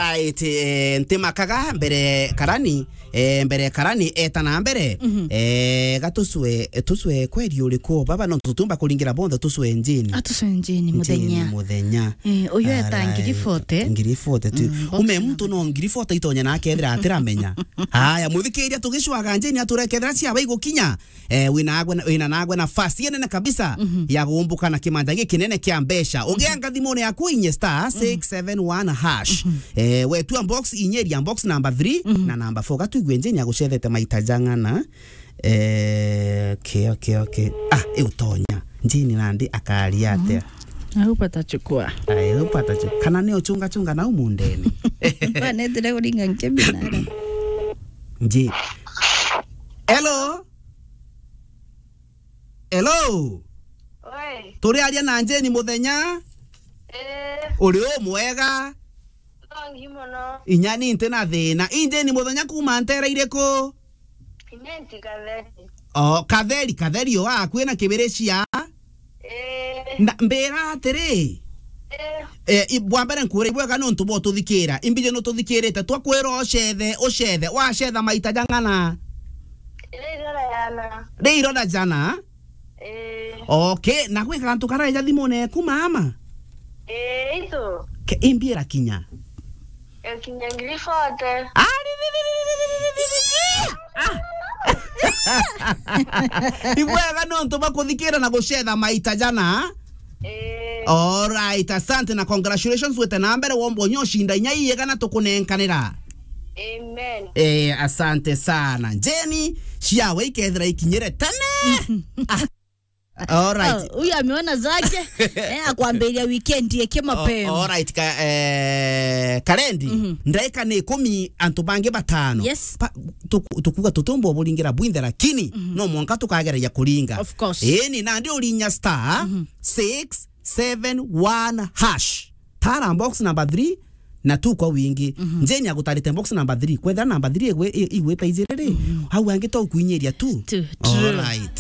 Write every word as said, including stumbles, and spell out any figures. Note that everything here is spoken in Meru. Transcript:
Right, eh, ntimakaga mbere karani, eh, mbere karani, eta na mbere. Mhm. Eh, ga tucwe, tucwe kweri uriku? Baba, no tutumba kuringira bonthe, tucwe njini. A, tucwe njini. Njini muthenya. Muthenya. Eh, uyu eta ngiri forty. Ngiri forty tu. Mm, box number. Ume muntu no ngiri forty itonya na akethira atiramenya. Haya, muthikiria, tugicwaga njini aturekethira ciaba igukinya. Eh, wina agwe na, wina nagwe nafasi inene kabisa, mhm, ya gumbuka na kimanja giki kinene kia mbeca. Mhm. Ugianga thimune yaku inye star, mhm, six seven one hash. Mhm. Eh, wetua box, inyeria box number three, mhm, na number four. Gatwigue njini agucethete maita jang'ana. Eh, okay, okay, okay. Ah, iutonya. Njini nandi akaria atia? Mhm. I hope atachukua. I hope atachukua. Kana ni uchunga chunga na umundene. Banetire kuringa nkemi nara. Nji. Hello? Hello? Oi. Turiaria na Njeni muthenya? Eh. Uri u mwega? Nongi mono. Inya ni nti na thina. I Njeni muthenya kuma ntera iriku? Inya nti Katheri. O, Katheri, Katheri o a kwina kibiricia? Eh. Na mbira atiri, eh, i-, bwa mbere nkwire ibwega nontu bwa ututhikira. Imbiji nututhikirite, twakwira ucethe, ucethe, wacetha maita jang'ana? Ri irora jana. Ri irora jana? Eh. Okay, na gwi kantu karaeja thimune eku mama? Eh, itu. Ke, imbira kinya. Ekinya ngiri forty. Ah, ri, ri, ri. Ah. Ibwega nontu bwa kuthikira na gucetha maita jana. Eh. All right, asante na congratulations, wete na mbere, womba unya ucinda inya iiga na tukunenkanira. Amen. Eh, asante sana. Njeni, ciawe ikethira ikinyire tene. Ah. All right. Oh, huyu ameona zake. Eh, akwambia weekend yake mapema. Oh, all right, ka, eh, Karendi, mhm, ndaika ni ikumi, antu bangi batano. Yes. Pa, tuku-, tukuga tutumba uburingira bwinthe, lakini, mhm, no mwanka tukagereria kuringa. Of course. Ii, ni nandi urinya star, mhm, six seven one hash. Tara box number three na tu kwa wingi. Mhm. Njeni agutarite box number three. Kwethira number three igwe-, i-, igwita ijiri ri, mhm, au angi to kuinyiria tu. Tu, true. All right.